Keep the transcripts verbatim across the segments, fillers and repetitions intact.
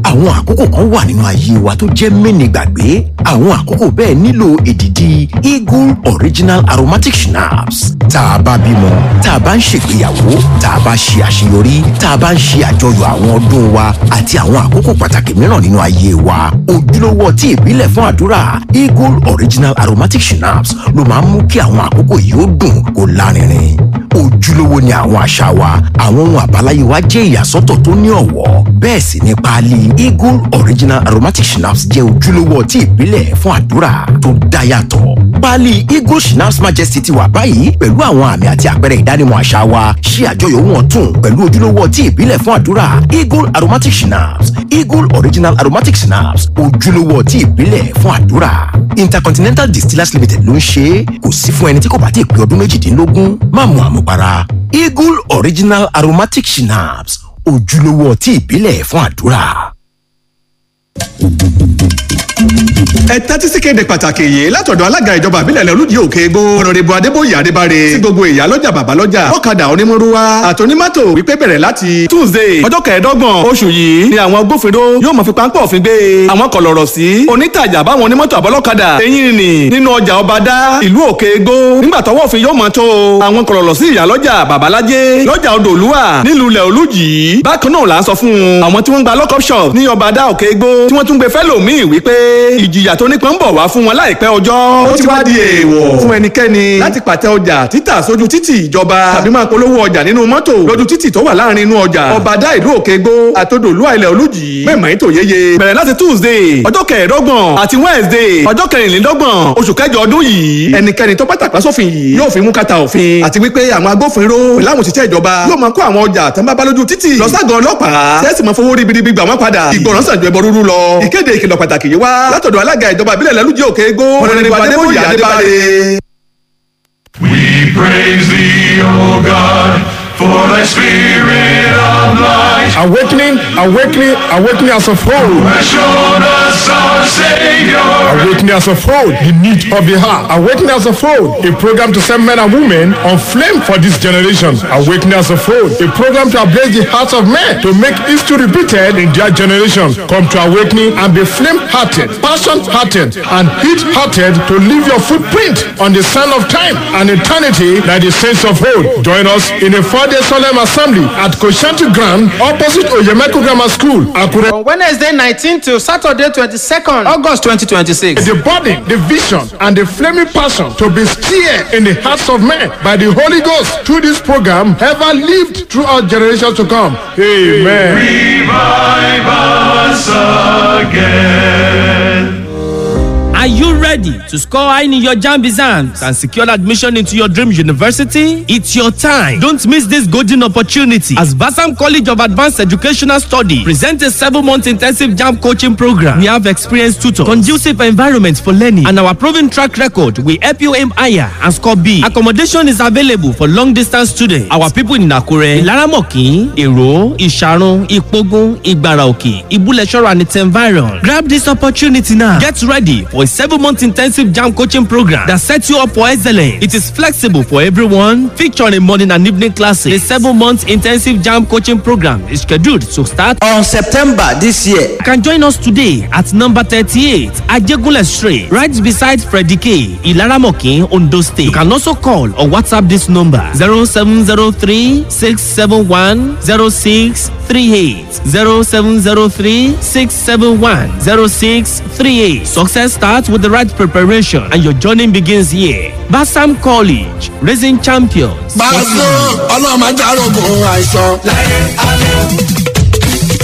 Àwọn àkókò kan wà nínú ayé wa tó jẹ́ mẹ́ni gbàgbé. Àwọn àkókò bẹ́ẹ̀ nílò èdìdì Eagle Original Aromatic Schnapps. Tá a bá bímọ, tá a bá ń ṣègbéyàwó, tá a bá ṣe àṣeyọrí, tá a bá ń ṣe àjọyọ̀ àwọn ọdún wa àti àwọn àkókò pàtàkì mìíràn nínú ayé wa, ojúlówó ọtí ìbílẹ̀ fún àdúrà Eagle Original Aromatic Schnapps ló máa ń mú kí àwọn àkókò yìí ó dùn kó lárinrin. Ojúlówó ni àwọn àṣà wa, àwọn ohun àbáláyé wa jẹ́ ìyàsọ́tọ̀ tó ní ọ̀wọ́. Bẹ́ẹ̀ sì ni páálí Eagle Original Aromatic Schnapps jẹ́ ojúlówó ọtí ìbílẹ̀ fún àdúrà tó dá yàtọ̀. Páálí Eagle Schnapps Majesty ti wà báyìí pẹ̀lú àwọn àmì àti àpẹẹrẹ ìdánimọ̀ àṣà wa. Ṣí àjọyọ̀ wọn tún pẹ̀lú ojúlówó ọtí ìbílẹ̀ fún àdúrà Eagle Aromatic Schnapps. Eagle Original Aromatic Schnapps, ojúlówó ọtí ìbílẹ̀ fún àdúrà. Intercontinental Distillers Limited ló ń ṣe é. Kò sí fún ẹni tí kò bá ti pé ọdún méjìdínlógún. Má mu àmupara. Eagle Original Aromatic Schnapps, ojúlówó ọtí ìbílẹ̀ fún àdúrà. Ẹ tẹ́tí sí kéde pàtàkì yìí látọ̀dọ̀ alága ìjọba ìbílẹ̀ Olújì Òkè Igbó, Honourable Adébóyè Adébáre, sí gbogbo ìyá lọ́jà, bàbá lọ́jà, ọ̀kadà, onímọ̀rúwá àtonímọ́tò wípé bẹ̀rẹ̀ láti Tuesday, ọjọ́ kẹẹ̀ẹ́dọ́gbọ̀n oṣù yìí ni àwọn agbófinró yóò máa fi páńpẹ́ òfin gbé àwọn kọ̀lọ̀rọ̀ sí onítàjà báwọn onímọ́tò àbọ́lọ́kadà eyín nì nínú ọjà ọba dá ìlú Òkè Igbó. Nígbà tọwọ́ òfin yóò mọ̀ tó àwọn kọ̀lọ̀rọ̀ sí ìyá lọ́jà, babalájé lọ́jà Odòlúwà nílùú ilẹ̀ Olújì. Bákan náà là ń sọ fún àwọn tí wọ́n ń gba lockup shop ní ọba dá Òkè Igbó tí wọ́n tún gbé fẹ́lòmíì wípé ìjìyà tó nípọn ń bọ̀ wá fún wọn láìpẹ́ ọjọ́. Ó ti wá di èèwọ̀ fún ẹnikẹ́ni láti pàtẹ ọjà títà sójú títì ìjọba tàbí máa polówó ọjà nínú mọ́tò lójú títì tó wà láàrin inú ọjà ọba dá ìlú Òkè Igbó àtòdòlú ilẹ̀ Olújì. Mẹ́mọ̀ ètò yéye bẹ̀rẹ̀ láti Tuesday, ọjọ́ kẹẹ̀ẹ́dọ́gbọ̀n àti Wednesday, ọjọ́ kẹrìnlélọ́gbọ̀n oṣù kẹjọ ọdún yìí. Ẹnikẹ́ni tó bá tàpá sófin yìí yóò fi mú kàtà òfin, àti wípé àwọn agbófinró pẹ̀lú àwọn òṣìṣẹ́ ìjọba yóò máa kó àwọn ọjà tán bá bá lójú títì lọ ságàn ọlọ́pàá, sẹ́ẹ̀sì máa fowó ribiribi gbà wọ́n padà. Ìgbọràn sàn ju ẹbọ rúrú lọ. Ìkéde ìkìlọ̀ pàtàkì yìí wá látọ̀dọ̀ alága ìjọba ìbílẹ̀ Olújì Òkè Igbó, Honourable Adébóyè Adébáre. We praise thee, O God, for thy spirit of light. Awakening, awakening, awakening as a fold. Has shown us our Savior. Awakening as a fold, the need of the heart. Awakening as a fold, a program to send men and women on flame for this generation. Awakening as a fold, a program to ablaze the hearts of men to make history repeated in their generation. Come to Awakening and be flame-hearted, passion-hearted, and heat-hearted to leave your footprint on the sand of time and eternity like the saints of old. Join us in a four-day solemn assembly at Koshanti Ground, opposite Oyemeko Grammar School, Akure. From Wednesday nineteen to Saturday twenty-second August twenty twenty-six. The burden, the vision, and the flaming passion to be stirred in the hearts of men by the Holy Ghost through this program ever lived throughout generations to come. Amen. Revive us again. Are you ready to score high in your JAMB exams and secure admission into your dream university? It's your time. Don't miss this golden opportunity as Vasam College of Advanced Educational Study presents a seven-month intensive JAMB coaching program. We have experienced tutors, conducive environment for learning, and our proven track record will help you aim higher and score big. Accommodation is available for long-distance students. Our people in Akure, Ilaramokin, Ero, Isharun, Ipogun, Igbaraoke, Ibuleshoro, and its environ. Grab this opportunity now. Get ready for a seven-month intensive JAMB coaching program that sets you up for excellence. It is flexible for everyone, featuring morning and evening classes. The seven-month intensive JAMB coaching program is scheduled to start on September this year. You can join us today at number thirty-eight, Ajegunle Street, right beside Freddie K, Ilaramokin, Ondo State. You can also call or WhatsApp this number: zero seven zero three six seven one zero six three eight, zero seven zero three six seven one zero six three eight. Success starts with the right preparation, and your journey begins here. Basam College, raising champions. Pàṣẹ ọlọ́mọ ajárogun àìsàn.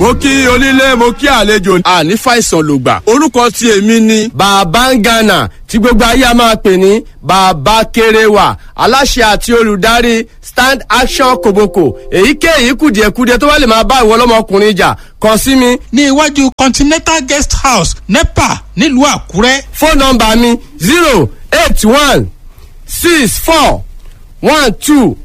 Mo kí onílé, mo kí àlejò, àní fàìsàn lògbà. Orúkọ tí èmi ni Bàbá ń Gànà tí gbogbo ayé a máa pè ní Bàbá Kéréwà, aláṣẹ àti olùdarí Stand Action Koboko. Èyíkéyìí kùdìẹ̀kudiẹ tó bá lè máa bá ìwọ ọlọ́mọkùnrin jà, kàn sí mi. Ní iwájú Continental Guest House, NEPA, nílùú Àkúrẹ́. Fóònù nọ́mbà mi zero eight one six four one two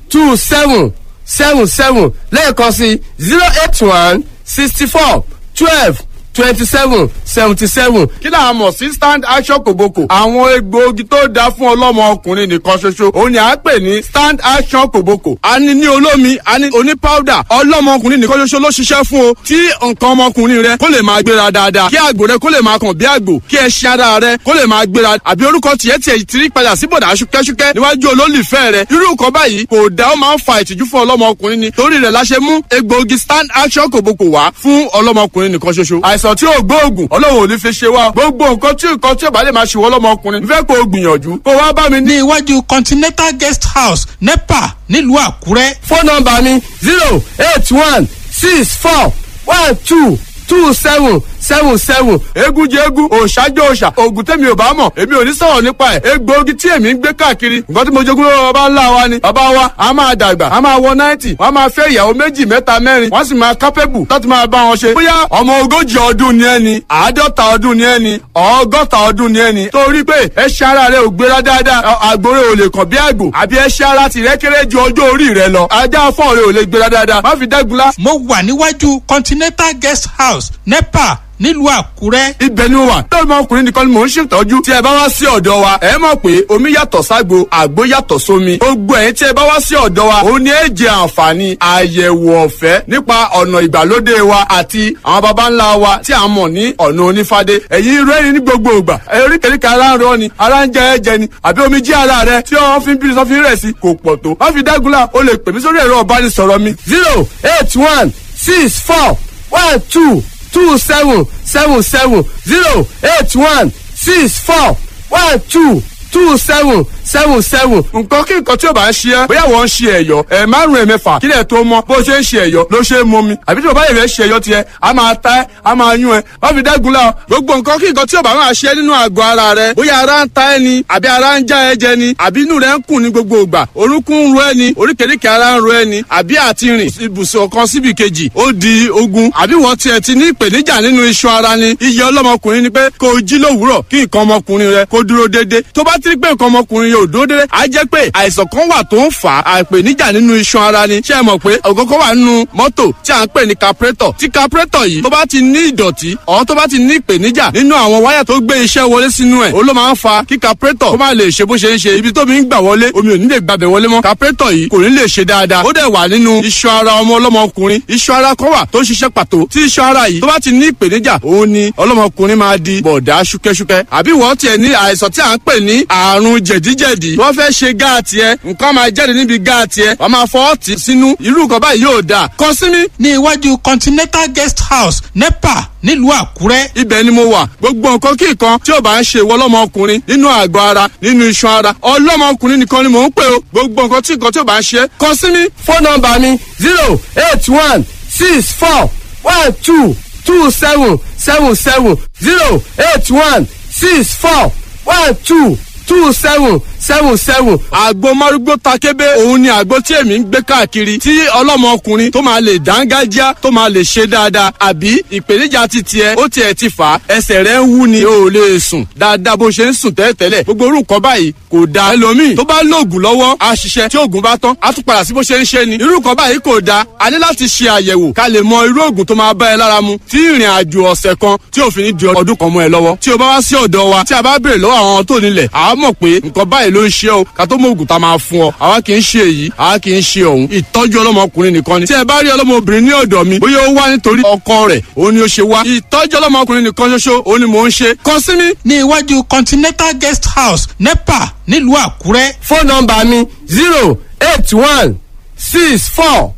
two seven seven seven, lẹ́ẹ̀kan sí zero eight one sixty four twelve twenty seven seventy seven. Kí là á mọ̀ sí Stand Action Kòbókò? Àwọn egbòogi tó dáa fún ọlọ́mọ ọkùnrin nìkan ṣoṣo òun ni à ń pè ní Stand Action Kòbókò. A ní ní olómi, a ní oní powder. Ọlọ́mọ ọkùnrin nìkan ṣoṣo ló ṣiṣẹ́ fún o. Tí nǹkan ọmọkùnrin rẹ kó lè máa gbéra dáadáa, kí àgbò rẹ kó lè máa kàn bí àgbò, kí ẹṣin ara rẹ kó lè máa gbéra, àbí orúkọ tiẹ̀ tiẹ̀ ti rí padà sí bọ̀dà ṣúkẹ́ṣúkẹ́ níwájú olólùfẹ́ rẹ. Irú nǹkan báyìí kò dá, ó máa ń fa ìtìjú fún ọlọ́mọkùnrin ni. Torí rẹ̀ la ṣe mú egbòogi Stand Action Kòbókò wá fún ọlọ́mọkùnrin nìkan ṣoṣo. Àìsàn tí ò gbóògùn, Ọlọ́run ò ní fi ṣe wá. Gbogbo nǹkan tí nǹkan tí ò bá lè máa ṣe wọ́n lọ́mọkùnrin, fẹ́ kó o gbìyànjú kó wá bá mi ní iwájú Continental Guest House, NEPA, nílùú Àkúrẹ́. Fóònù nọ́mbà mi zero eight one six four one two two seven seven seven. Eégún jẹ eégún, òòṣà jẹ òòṣà. Oògùn tèmi ò bá mọ̀, èmi ò ní sọ̀rọ̀ nípa ẹ̀. Egbòogi tí èmi ń gbé káàkiri, nǹkan tí mo jogún lọ́wọ́ bàbá ńlá wa ni. Bàbá wa a máa dàgbà, a máa wọ náìtì, wọ́n a máa fẹ́ ìyàwó méjì, mẹ́ta, mẹ́rin, wọ́n sì máa kápẹ́bù láti máa bá wọn ṣe. Bóyá ọmọ ogójì ọdún ni ẹni, àádọ́ta ọdún ni ẹni, ọgọ́ta ọdún ni ẹni, torí pé ẹṣin ara rẹ ò gbéra dáadáa, àgbòrè ò lè kàn bí àgbò, àbí ẹṣin ara tìrẹ kéré ju ọjọ́ orí rẹ lọ, ajá fọ́ọ̀ rẹ ò lè gbéra dáadáa, má fi dẹ́gunlá. Mo wà níwájú Continental Guest House, NEPA, nílùú Àkúrẹ́. Ibẹ̀ ni mo wà. Lọ́mọ ọkùnrin nìkan ni mò ń ṣètọ́jú. Tí ẹ bá wá sí ọ̀dọ̀ wa, ẹ mọ̀ pé omi yàtọ̀ ságbo, àgbo yàtọ̀ sómi. Gbogbo ẹ̀yin tí ẹ bá wá sí ọ̀dọ̀ wa, òun ni ẹ jẹ àǹfààní àyẹ̀wò ọ̀fẹ́ nípa ọ̀nà ìgbàlódé wa àti àwọn baba ńlá wa tí a mọ̀ ní ọ̀nà onífádé. Ẹ̀yin rẹ́rìn ní gbogbo ìgbà. Oríkèéríkèé ara ń rọ ni, ara ń jẹ ẹ̀jẹ̀ ni, àbí omi jí ara rẹ tí wọ́n fi ń bí sọ́fin rẹ̀ sí kò pọ̀ tó. Má fi dágunlá, o lè pè mí sórí ẹ̀rọ ìbánisọ̀rọ̀ mi. zero eight one six four one two two seven seven seven zero eight one six four one two two seven seven seven. Nǹkan kí nǹkan tí ó bá ń ṣe ẹ́, bóyá wọ́n ń ṣe ẹ̀yọ́ ẹ̀ márùn-ún, ẹ̀mẹ́fà, kílẹ̀ tó mọ́, bó ṣe ń ṣe ẹ̀yọ́ ló ṣe é mú mi, àbí tí o bá yẹ̀ fẹ́ ṣe ẹ̀yọ́ tiẹ̀, a máa ta ẹ́, a máa yún ẹ́. Wọ́n fi dẹ́gun la. Gbogbo nǹkan kí nǹkan tí ó bá máa ṣe nínú àgọ́ ara rẹ, bóyá ara ń ta ẹ́ ni, àbí ara ń já ẹ jẹ ni, àbí inú rẹ ń kùn ní gbogbo ìgbà, orúnkún ń ro ẹ́ ni, oríkèéríkèé ara ń ro ẹ́ ni, àbí àti rìn ibùsùn kan síbi kejì ó di ogun, àbí wọ́n tiẹ̀ ti ní ìpèníjà nínú iṣan ara ni. Iye ọlọ́mọkùnrin ni pé kó o jí lówùúrọ̀ kí nǹkan ọmọkùnrin rẹ kó dúró déédéé. Tó bá ti rí pé nǹkan ọmọkùnrin yóò dúró déédéé, á jẹ́ pé àìsàn kan wà tó ń fà á, àìpèníjà nínú iṣan ara ni. Ṣé ẹ mọ̀ pé ọ̀gọ́gọ́ wà nínú mọ́tò tí à ń pè ní carburetor? Tí carburetor yìí tó bá ti ní ìdọ̀tí ọ̀hún, tó bá ti ní ìpèníjà nínú àwọn wáyà tó gbé iṣẹ́ wọlé sínú ẹ̀, ó ló máa ń fa kí carburetor kó má lè ṣe bó ṣe ń ṣe. Ibi tó mi ń gbà wọlé, omi ò ní lè gbàbẹ̀ wọlé mọ́, carburetor yìí kò ní lè ṣe dáadáa. Ó dẹ̀ wà nínú iṣan ara ọmọ ọlọ́mọkùnrin. Iṣan ara kan wà tó ń ṣiṣẹ́ pàtó. Tí iṣan ara yìí tó bá ti ní ìpèníjà, òun ni ọlọ́mọkùnrin máa di bọ̀dá ṣúkẹ́ṣúkẹ́. Àbí wọ́n tiẹ̀ ní àìsàn tí à ń pè ní àrùn jẹ̀díjẹ̀dí, wọ́n fẹ́ ṣe gáàtì ẹ, nǹkan máa jáde níbi gáàtì ẹ, wọ́n máa fọwọ́ tì sínú. Irú nǹkan báyìí yóò dáa. Kàn sí mi. Ní iwájú Continental Guest House, NEPA, nílùú Àkúrẹ́. Ibẹ̀ ni mo wà. Gbogbo nǹkan kí nǹkan tí ò bá ń ṣe ìwọ ọlọ́mọkùnrin nínú àgọ́ ara, nínú iṣan ara, ọlọ́mọkùnrin nìkan ni mò ń pè o. Gbogbo nǹkan tí nǹkan tí ò bá ń ṣe, kàn sí mi. Fóònù nọ́mbà mi zero eight one six four one two two seven seven seven zero eight one six four one two two seven seven seven. Àgbo márúgbó takébé, òun ni àgbo tí èmi ń gbé káàkiri, tí ọlọ́mọkùnrin tó máa lè dángájá, tó máa lè ṣe dáadáa. Àbí ìpèníjà ti tiẹ̀ ó tiẹ̀ ti fà á, ẹsẹ̀ rẹ̀ ń wú ni, o ò lè sùn dáadáa bó ṣe ń sùn tẹ́lẹ̀tẹ́lẹ̀. Gbogbo orú nǹkan báyìí kò dáa. Ẹlòmíì tó bá lóògùn lọ́wọ́ á ṣiṣẹ́, tí oògùn bá tán á tún padà sí bó ṣe ń ṣe ni. Irú nǹkan báyìí kò dáa. A ní láti ṣe àyẹ̀wò ká lè mọ irú oògùn tó máa bá ẹ lára mu, tí ìrìn àjò ọ̀sẹ̀ kan tí òfin ní di ọdún kan mọ́ ẹ lọ́wọ́. Tí o bá wá sí ọ̀dọ̀ wa, tí a bá béèrè lọ́wọ́ àwọn tó nílẹ̀, àá mọ̀ pé nǹkan báyìí ló ń ṣe o, ká tó mọ ògùn tá a máa fún ọ. Àwa kì í ṣe èyí, àwa kì í ṣe ọ̀hún. Ìtọ́jú ọlọ́mọkùnrin nìkan ni. Tí ẹ bá rí ọlọ́mọbìnrin ní ọ̀dọ̀ mi, bóyá ó wá nítorí ọkọ rẹ̀ òun ni ó ṣe wá. Ìtọ́jú ọlọ́mọkùnrin nìkan ṣoṣo òun ni mò ń ṣe. Kàn sí mi. Ní iwájú Continental Guest House, NEPA, nílùú Àkúrẹ́. Fóònù nọ́mbà mi zero eight one six four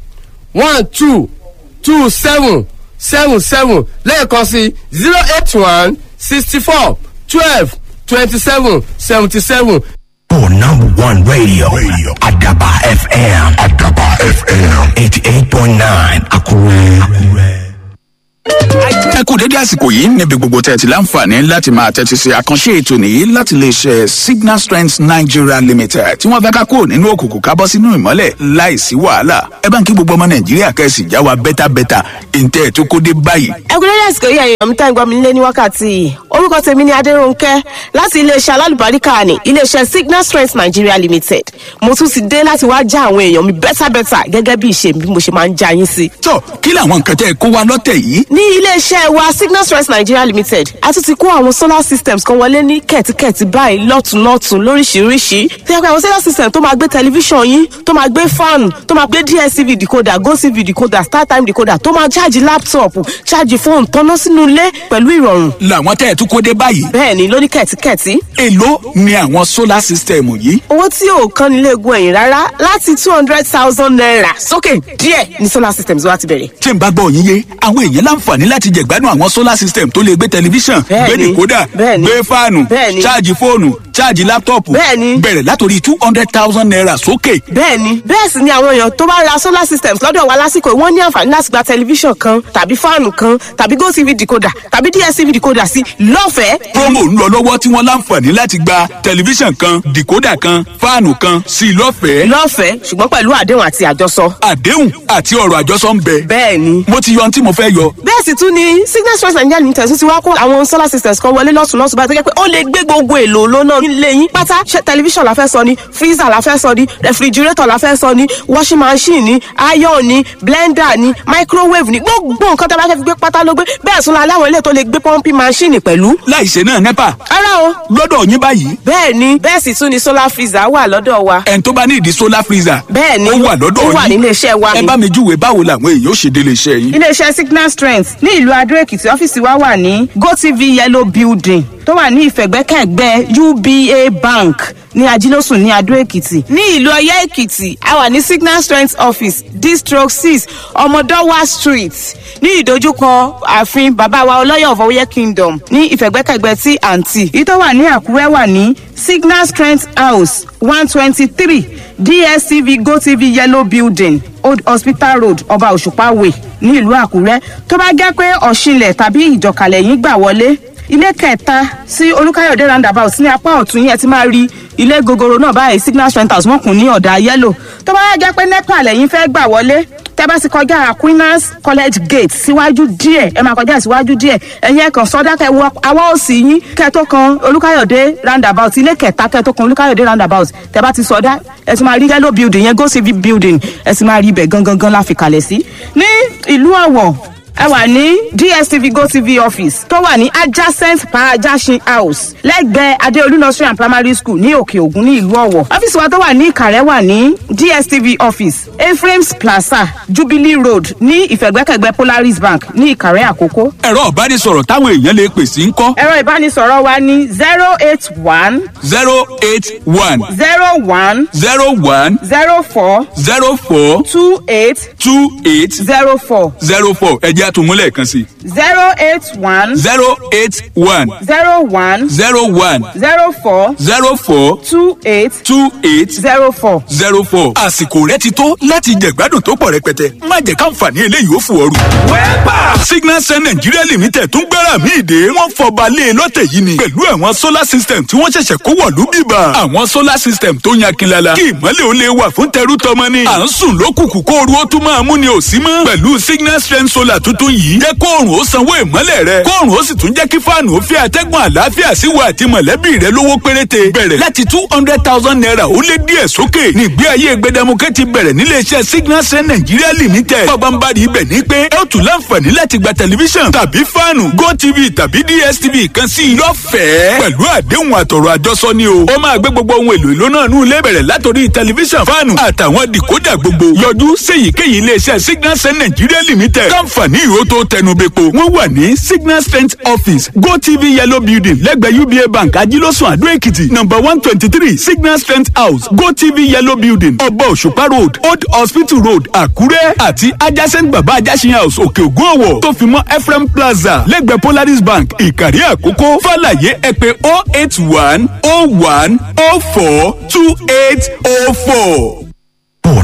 one two two seven seven seven, lẹ́ẹ̀kan sí zero eight one sixty four twelve twenty seven seventy seven. For number one radio, radio. Adaba F M. Adaba F M. eighty-eight point nine. Akure. Akure. Ẹ kú dédé àsìkò yìí níbi gbogbo tẹ́ ẹ ti láǹfààní láti máa tẹ́tí sí àkànṣe ètò nìyí láti lè ṣe Signal Strength Nigeria Limited, tí wọ́n fẹ́ ká kúrò nínú òkùnkùn ká bọ́ sínú ìmọ́lẹ̀ láìsí wàhálà. Ẹ bá ń kí gbogbo ọmọ Nàìjíríà kẹ́sì já wa bẹ́tàbẹ́tà ìǹtẹ́ tó kó dé báyìí. Ẹ kú dédé. dédé àsìkò yìí, ẹ̀yin ọ̀mí tá ń gbọ́ mi nílé ní wákàtí yìí. Orúkọ tèmi ni Adérónkẹ́ láti iléeṣẹ́ alálùbáríkà ní iléeṣẹ́ Signal Strength Nigeria Limited. Mo tún ti dé láti wá já àwọn èèyàn mi bẹ́tàbẹ́tà gẹ́gẹ́ bí ìṣe mi bí mo ṣe máa ń já yín sí. Tó, kí làwọn nǹkan tẹ́ ẹ kó wa lọ́tẹ̀ yìí? Ní iléeṣẹ́ wa Signal Strength Nigeria Limited, a tún ti kó àwọn solar systems kan wọlé ní kẹ̀tíkẹ̀tí báyìí, lọ́tùnlọ́tùn lóríṣiríṣi. Tí a pé àwọn solar system tó máa gbé tẹlifíṣàn yín, tó máa gbé fan, tó máa gbé D S T V decoder, GoTV decoder, StarTime decoder, tó máa ṣáàjì laptop, ṣáàjì fóònù, tọ́ná sínú ilé pẹ̀lú ìrọ̀rùn. Làwọn tẹ́ ẹ tún kó dé báyìí? Bẹ́ẹ̀ni, lóní kẹ̀tíkẹ̀tí. Èló ni àwọn solar system yìí? Owó tí ò kan nílé egun ẹ̀yìn rárá, láti two hundred thousand naira sókè díẹ̀ ní solar systems wa ti bẹ̀rẹ̀. Tí n bá gbọ́ yín yé, àwọn èèyàn láǹfààní láti jẹ̀gbádùn àwọn solar system tó lè gbé tẹlifíṣàn, gbé Bẹ́ẹ̀ni, decoder, bẹ́ẹ̀ni, gbé fáànù, bẹ́ẹ̀ni. ṣáàjì fóònù, ṣáàjì laptop. Bẹ́ẹ̀ni. Bẹ̀rẹ̀ látòrí two hundred thousand naira sókè. Bẹ́ẹ̀ni, bẹ́ẹ̀ sì ni àwọn èèyàn tó bá ra solar systems lọ́dọ̀ wa lásìkò yìí, wọ́n ní àǹfààní láti gba tẹlifíṣàn kan tàbí fáànù kan tàbí GoTV decoder tàbí D S T V decoder sí lọ́fẹ̀ẹ́. Promo ń lọ lọ́wọ́ tí wọ́n láǹfààní láti gba tẹlifíṣàn kan, decoder kan, fáànù kan sí i lọ́fẹ̀ẹ́. Lọ́fẹ̀ẹ́, ṣùgbọ́n pẹ̀lú àdéhùn àti àjọsọ. Àdéhùn àti ọ̀rọ̀ àjọsọ ń bẹ? Bẹ́ẹ̀ni. Mo ti yọ ohun tí mo fẹ́ yọ. Bẹ́ẹ̀ sì tún ni Signal Strength Nigeria Limited tún ti wá kó àwọn solar systems kan wọlé lọ́tún lọ́tún báyìí, tó jẹ́ pé ó lè gbé gbogbo èlò lónà nílé yín pátá. Ṣé tẹlifíṣàn la fẹ́ sọ ni, freezer la fẹ́ sọ ni, refrigerator la fẹ́ sọ ni, washing machine ni, iron ni, blender ni, microwave ni, gbogbo nǹkan tó bá fẹ́ fi gbé pátá ló gbé. Bẹ́ẹ̀ tún la láwọn ilé tó lè gbé pumping machine pẹ̀lú. Láìṣe náà NEPA? Rárá o. Lọ́dọ̀ yín báyìí? Bẹ́ẹ̀ ni, bẹ́ẹ̀ sì tún ni solar freezer wà lọ́dọ̀ wa. Ẹni tó bá ní ìdí solar freezer? Bẹ́ẹ̀ ni. Ó wà lọ́dọ̀ Ó yín? wà nílé iṣẹ́ wa Ẹ ni. bá mi júwe báwo làwọn èèyàn ó ṣe délé iṣẹ́ yín. Iléeṣẹ́ Signal Strength ní ìlú Adó Èkìtì, ọ́fíìsì wa wà ní GoTV Yellow Building tó wà ní ìfẹ̀gbẹ́kẹ̀gbẹ́ U B A Bank ní Ajílósùn ní Adó Èkìtì. Ní ìlú Ọyẹ́ Èkìtì, a wà ní Signal Strength office, district six, Ọmọdọ́wà Street, ní ìdojúkọ ààfin bàbá wa Ọlọ́yọ̀ of Ọyẹ́ Kingdom, ní ìfẹ̀gbẹ́kẹ̀gbẹ́ tí àǹtí. Èyí tó wà ní Àkúrẹ́ wà ní Signal Strength House, one twenty three D S T V GoTV Yellow Building, Old Hospital Road, Ọba Òṣùpá Way ní ìlú Àkúrẹ́. Tó bá jẹ́ pé Ọ̀ṣinlẹ̀ tàbí Ìjọkàlẹ̀ yín gbà wọlé, ilé kẹta sí Olúkáyọ̀dé roundabout ní apá ọ̀tún yẹn ti máa rí ilé gogoro náà báyìí, Signal Strength House, wọ́n kùn ní ọ̀dà yellow. Tó bá wá jẹ́ pé NEPA lẹ́yìn fẹ́ gbà wọlé, tẹ́ bá ti kọjá Aquinas College gate síwájú díẹ̀, ẹ máa kọjá síwájú díẹ̀, ẹ̀yin ẹ̀kan sọ́dá, kẹ́ wọ awọ́ òsì yín, kẹ́ tó kan Olúkáyọ̀dé roundabout, ilé kẹta kẹ́ tó kan Olúkáyọ̀dé roundabout. Tẹ́ bá ti sọdá, ẹ ti máa rí yellow building yẹn, GoTV building, ẹ ti máa rí ibẹ̀ gangan gan la fi kalẹ̀ sí. Ní ìlú Ọ̀wọ̀, ẹ wà ní D S T V GoTV office tó wà ní adjacent Parajasin House, lẹ́gbẹ̀ẹ́ Adeolu Nursery and Primary School ní Òkè Ògùn ní ìlú Ọ̀wọ̀. Ọ́fíìsì wa tó wà ní Ìkàrẹ́ wà ní D S T V office, Ephraim's Plaza, Jubilee Road, ní ìfẹ̀gbẹ́kẹ̀gbẹ́ Polaris Bank ní Ìkàrẹ́ Àkókó. Ẹ̀rọ ìbánisọ̀rọ̀ táwọn èèyàn lè pè sí ń kọ́? Ẹ̀rọ ìbánisọ̀rọ̀ wa ní zero eight one zero eight one zero one zero one zero four zero four two eight two eight zero four. zero four. Ẹ jẹ́ àtúnmúlẹ̀ kan sí. zero eight one zero eight one zero one zero one zero four zero four two eight two eight zero four. zero four. Àsìkò rẹ ti tó láti jẹ̀gbádùn tó pọ̀ rẹpẹtẹ. Má jẹ́ káǹfààní eléyìí ó fò ooru. Wẹ́pà Signal Sun Nigeria Limited tún gbára mi ìdè, wọ́n fọba lé e lọ́tẹ̀ yìí ni pẹ̀lú àwọn solar system tí wọ́n ṣẹ̀ṣẹ̀ kó wọ̀lú bíbà. Àwọn solar system tó yan kinlala kí ìmọ̀lẹ̀ ó lè wà fún tẹrú tọmọ ni. À ń sùn lókùnkùn kó oru ó tún máa mú ni ò sí mọ́. Pẹ̀lú Signal Strength Solar tuntun yìí, jẹ́ kóòrùn ó sanwó ìmọ̀lẹ̀ rẹ, kóòrùn ó sì tún jẹ́ kí fáànù ó fi àtẹ́gùn àlàáfíà sí wa àti mọ̀lẹ́bí rẹ lówó péréte. Bẹ̀rẹ̀ láti two hundred thousand naira ó lé díẹ̀ sókè. Nígbé ayé gbẹdẹmukẹ́ ti bẹ̀rẹ̀ níléeṣẹ́ Signal Strength Nigeria Limited. Bàbá ń bá rí ibẹ̀ ní pé ẹ ó tún láǹfààní láti gba tẹlifíṣàn tàbí fáànù GoTV tàbí D S T V kan sí i lọ́fẹ̀ẹ́ pẹ̀lú àdéhùn àtọ̀rọ̀ àjọsọ ni o. Ó máa gbé gbogbo ohun èlò ìlú náà nù ilé, bẹ̀rẹ̀ látòrí tẹlifíṣàn, fáànù àtàwọn dìkódà gbogbo. Yọjú séyìíkéyìí iléeṣẹ́ Signal Strength Nigeria Limited káǹfààní ìró tó tẹnubẹ́po. Wọ́n wà ní Signal Strength office, GoTV Yellow Building, lẹ́gbẹ̀ẹ́ U B A Bank, Ajílọ́sùn, Àdó Èkìtì, number one twenty three, Signal Strength House, GoTV Yellow Building, Ọba Òṣùpá Road, Old Hospital Road, Àkúrẹ́, àti adjacent Baba Ajásin House, Òkè Ògùn, Ọ̀wọ̀, tó fi mọ́ Ephraim Plaza lẹ́gbẹ̀ẹ́ Polaris Bank, Ìkàrí Àkókò. Fàlàyé, ẹ pè oh eight one oh one oh four two eight oh four.